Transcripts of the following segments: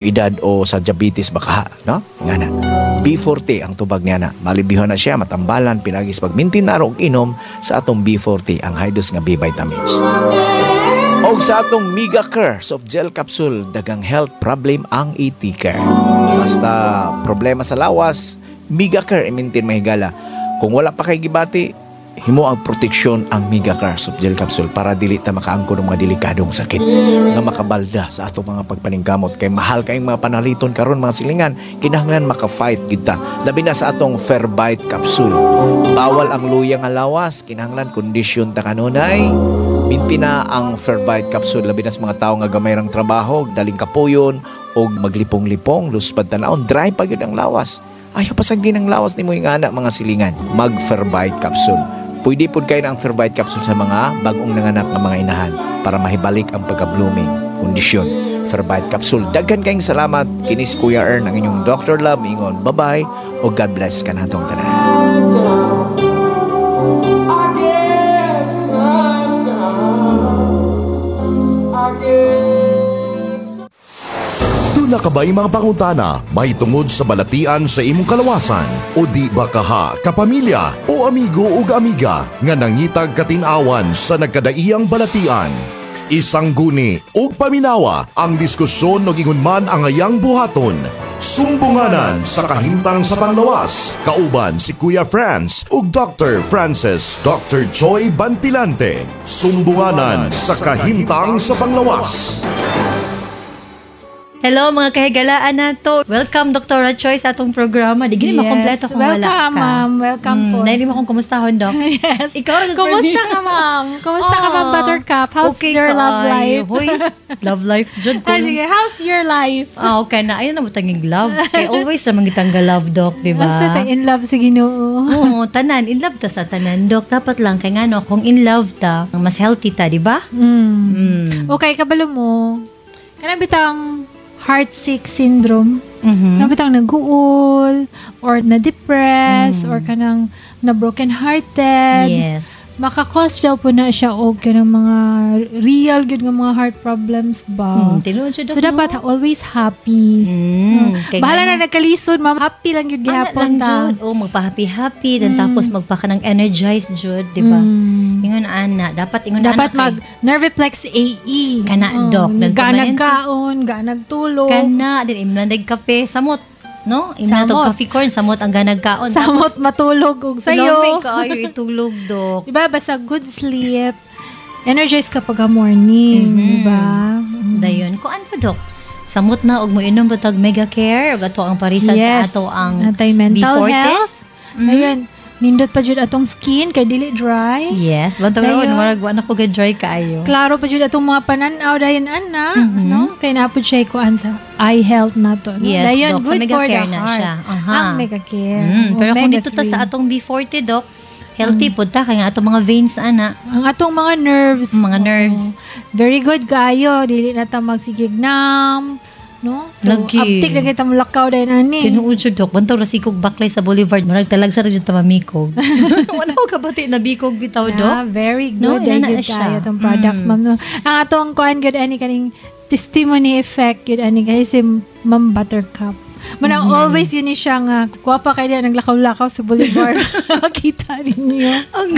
Edad o sa diabetes baka, no? Nga na. B40 ang tubag niya na. Malibihon na siya, matambalan, pinagis pag-maintain na og inom sa atong B40, ang high dose nga B vitamins. Og sa atong Mega Care soft gel capsule, dagang health problem ang i-care. Basta problema sa lawas, Mega Care i-maintain, mahigala. Kung wala pa kay gibati, himo ang proteksyon ang Mega Care soft gel capsule para dili ta makaangkon ng mga delikadong sakit nga makabalda sa atong mga pagpaningkamot, kay mahal kayong mga panaliton karon, mga silingan. Kinahanglan maka-fight kita, labi na sa atong Ferbite capsule. Bawal ang luya nga lawas, kinahanglan kondisyon ta kanunay. Minti na ang Ferbite capsule, labi na sa mga tawo nga gamay rang trabaho, daling kapuyon o maglipong-lipong, luspad tanawon, dry pa gyud ang lawas. Ayaw pasagdi ng lawas nimo yung anak, mga silingan. Mag Ferbite capsule. Pwede pud kayo na ang Ferbite capsule sa mga bagong nanganak nga mga inahan para mahibalik ang pagka-blooming kondisyon. Ferbite capsule. Daghan kayong salamat. Kini si Kuya Ern, ang inyong Dr. Love. Ingon, bye-bye o God bless kanatong tanan. I guess I'm down. I guess. Duna ka ba'y mga pangutana mahitungod sa balatian sa imong kalawasan? O di ba kaha, kapamilya o amigo ug amiga nga nangitag katinawan sa nagkadaiyang balatian? Isang guni ug paminawa ang diskusyon og ingon man ang ayang buhaton. Sumbunganan sa kahimtang sa panglawas. Kauban si Kuya Franz ug Dr. Francis Dr. Joy Bantilante. Sumbunganan sa kahimtang sa panglawas. Hello, mga kahigalaan nato. Welcome, Dr. Choi, sa atong programa. Di gini makompleto kung wala Welcome, ka. Ma'am. Welcome po. Dahil mo akong kumustahon, Doc. Yes. Ikaw ra Kumusta ka, ma'am? Kumusta ka, ma'am Ah, Buttercup? How's okay your love kaayo. life? Hoy, love life jud ko. Ah, sige. How's your life? Ah, okay na. Ayun na mo tanging love. Kay always naman gitang love, Doc, di ba? Basta ta in love sa Ginoo. Oo, tanan. In love ta sa tanan, Doc. Dapat lang kay ngano, kung in love ta, mas healthy ta, di ba? Okay, kabalo mo. Kanang bitang heartsick syndrome. Kanang bitang naguol or na-depress or kanang na broken hearted. Maka-cause daw po na siya og kanang mga real good nga mga heart problems ba. Tinuod siya, Doc, So dapat no? always happy. Kay Bahala ngano- na nagkalisod, ma'am. Happy lang yun Ana gihapon lang, ta. jud. Oh, magpa-happy-happy, then tapos magpaka ng energize jud, di ba? Ingon ana, dapat ingon Dapat ana mag Nerviplex AE. Kana, Doc. Ganag kaon, ganag tulog. Kana din imna kape samot, no? Imna tog Samot. coffee corn samot ang ganag kaon. Samot matulog og sayo. sayo. Kaayo itulog, Dok. Diba? Basta good sleep. Energize ka pagka morning, diba? Dayon ko ano, Dok? Samot na og moinom ba tag Mega Care ug ato ang parisan sa ato ang Anti-mental B40? health. Ayun, nindot pa jud atong skin kay dili dry. Yes, bantog Dayon. ron murag wa na ko dry kaayo. Klaro pa jud atong mga panan-aw dayon ana, no? Kay naa pud siya kuan sa eye health nato, no? Yes, Dayon Doc. Sa good Mega for the Care na heart. siya. Aha. Ang Mega Care. Pero kung Omega dito ta sa 3. atong B40, Doc, healthy pud ta kay nga atong mga veins ana. Ang atong mga nerves. Mga nerves. Very good kaayo, dili na ta magsigig numb, no? So, Lagi. aptik na kita mulakaw dayon ani. Tinuod siya, Dok. Bantog ra sikog baklay sa boulevard. Murag talag sa jud ta mamikog. Wala ko kabati na bikog bitaw, Dok. Ah, very No, good. ina No, na good siya. kaayo atong products, ma'am. No? Ang atong kuan gud ani kaning testimony effect gud ani kay si Ma'am Buttercup. Manang always yun ni siya nga kuha pa kay diya naglakaw-lakaw sa boulevard. Makita ninyo. Ang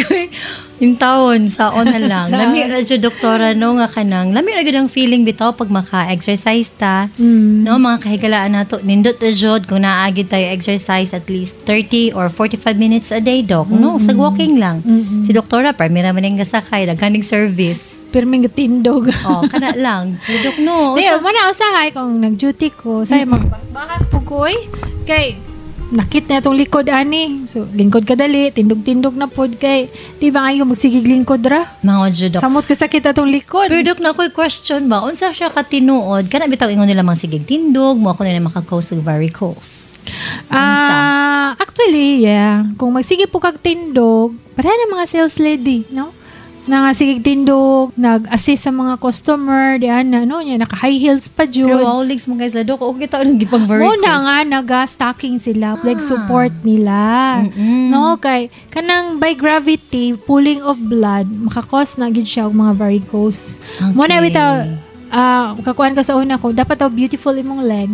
yung taon sa na lang. Lami ra jud, doktora, no, nga kanang. Lami ra gyud ang feeling bitaw pag maka-exercise ta. No, mga kahigalaan nato, nindot ra jud kung naagi tayo exercise at least 30 or 45 minutes a day, Doc. No, sa walking lang. Si doktora parmi ra man ang gasakay, daghaning service. Pirming tindog. Oh, kana lang. Pero, Dok, no. Di, mo na usahay kung nag-duty ko, say magbahas po ko oy. Kay nakit na itong likod ani. So lingkod ka dali, tindog-tindog na pod kay di ba ngayon magsigig lingkod ra? Mga jud, Dok. Samot ka sakit atong likod. Pero Dok, na ako'y question ba? Unsa siya katinuod? Kana bitaw ingon nila mang sigig tindog, mo ako nila maka-cause og varicose. Ah, actually, yeah. Kung magsige po kag tindog, pareha na mga sales lady, no? Na nga sige tindog, nag-assist sa mga customer, di ana, no? Nya naka high heels pa jud. Pero wow, legs mo guys, Dok, okay tao nang gipang varicose. Muna nga naga-stocking sila, like support nila. No, kay kanang by gravity, pooling of blood, maka-cause na gid siya og mga varicose. Okay. Mo na bitaw Ah, kakuan ka sa una ko, dapat daw beautiful imong legs.